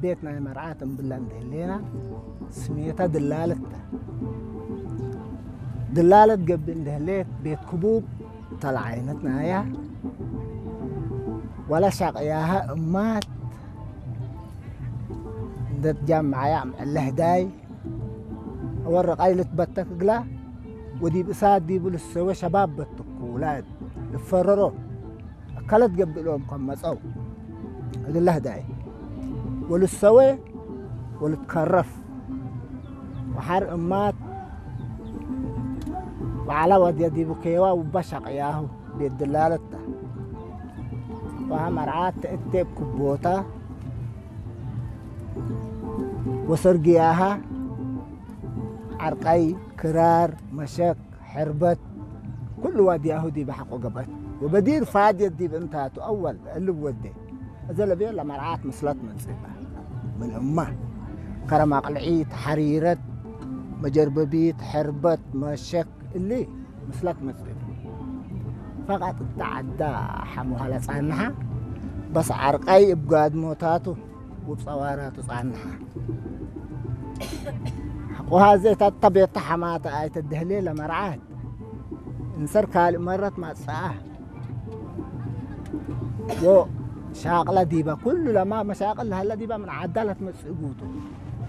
ቤት ናይ መርዓት እምብላ እንድህሌና ስሜታ ድላለታ ድላለት ገብእ እንድህሌት ቤት ክቡብ ተለዓይነት ናያ ዋላ ሻቅያሃ እማት እንደትጃምዓያ እምዕለህዳይ ወረቃይ ልትበተክ እግላ ወዲብ እሳት ዲቡ ልሰወ ሸባብ በትኩ ውላድ ልፈረሮ እከለት ገብእ ለዎም ከም መጸው እግለ ህዳይ ወልሰወ ወልትከረፍ ወሓር እማት ወዓላ ወድያ ዲቡ ከየዋ ውባ ሻቅያሁ ቤት ድላለታ ወሃ መርዓት ተእቴብ ክቦታ ወሰርግያሃ ዓርቃይ ክራር መሸክ ሕርበት ኩሉ ዋድያሁ ዲብ ሓቆ ገበት ወበዲር ፋድየት ዲብ እንታቱ ኣወል እልብ ወዴ እዘ ለብዮ ለመርዓት ምስለት መጽእባ ምን እማ ከረም ኣቅልዒት ሓሪረት መጀርበቢት ሕርበት መሸክ እሊ ምስለት መጽእባ ፈቃጥ እታ ዓዳ ሓሙሃ ለጻንሓ በስ ዓርቃይ እብ ጋድሞታቱ ውብ ጸዋራቱ ጻንሓ። ቁሃዜ ተተቤታ ሐማተ ኣይተደህሌ ለመርዓት እንሰር ካልእ መረት ማጽአ ወ ሻቅላ ዲባ ኩሉ ለማ መሻቅል ለሀላ ዲባ ምን ዓዳ ለትመጽእ ጉቱ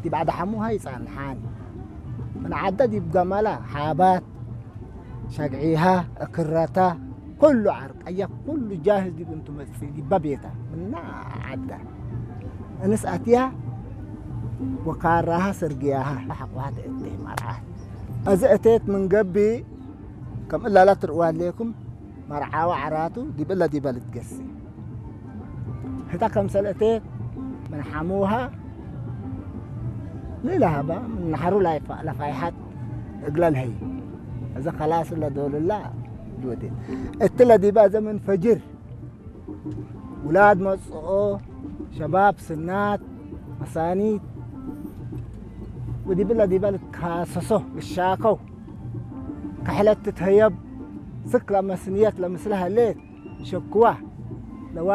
ዲብ ዓዳ ሐሙሃ ይጻንሓን ምን ዓዳ ዲብ ገመላ ሓባት ሸግዒሃ እክረታ ኩሉ ዓርቀያ ኩሉ ጃህዝ ዲብ እንቱ መጽእ ዲባ ቤታ ምና ዓዳ እንስ ኣትያ ወካራሃ ሰርግያሃ ሓቁሃ ተእቴ መርዓት እዚ እቴት ምን ገቢ ከም እላላ ትርእዋ ኣሌኩም መርዓዋ ዓራቱ ዲብ እላ ዲባ ልትገሲ ህታ ከምሰል እቴት ምን ሓሙሃ ሌላ ሃባ ምን ናሕሩ ለፋይሓት እግላ ልሀይ እዚ ከላስ ለዶልላ ልወዴ እቲ ለዲባ ዘመን ፈጅር ውላድ መጽኦ ሸባብ ስናት መሳኒት ወዲብላ ዲባ ልካሰሶ ልሻከው ከሕለት ትትህየብ ስክ ለመስንየት ለምስለ ሀሌት ሸክዋ